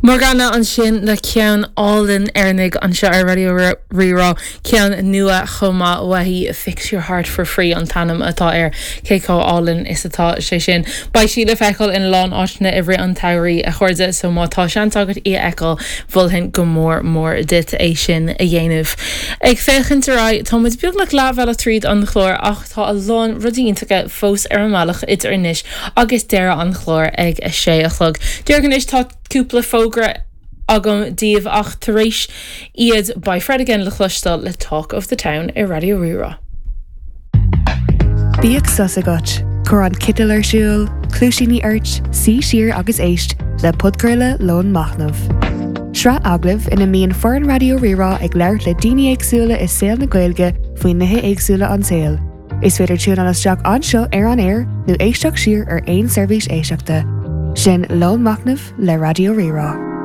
Morgana ansin le ceann álainn ar ndóigh anseo ar Raidió Rí-Rá, ceann nua chomh maith uaithi, Fix Your Heart For Free an t-ainm atá air, cé chomh álainn is atá sé sin. Beidh sí le feiceáil in a lán áiteanna i rith an tsamhraidh, a chairde, so má tá seans agat í a fheiceáil, mholfainn go mór mór duit é sin a dhéanamh. Ag féachaint ar aghaidh, tá muid beagnach leathbhealach tríd an chlár ach tá a lán rudaí iontacha fós ar an mbealach idir anois agus deireadh an chláir ag a sé a chlog. Díreach anois tá cúpla fógra agam daoibh ach tar éis iad beidh Fred again le cloisteáil le Talk of the Town ar Raidió Rí-Rá. Bíodh sos agat, cuir an citeal ar siúl, cluaisíní ort, suigh siar agus éist le podchraoladh Lón Machnaimh. Sraith agallamh ina mbíonn foireann Raidió Rí-Rá ag labhairt le daoine éagsúla i saol na Gaeilge faoi nithe éagsúla an tsaoil. Is féidir tiúnáil isteach anseo ar an aer nó éisteacht siar ar aon seirbhís éisteachta. Sin Lón Machnaimh le Raidió Rí-Rá.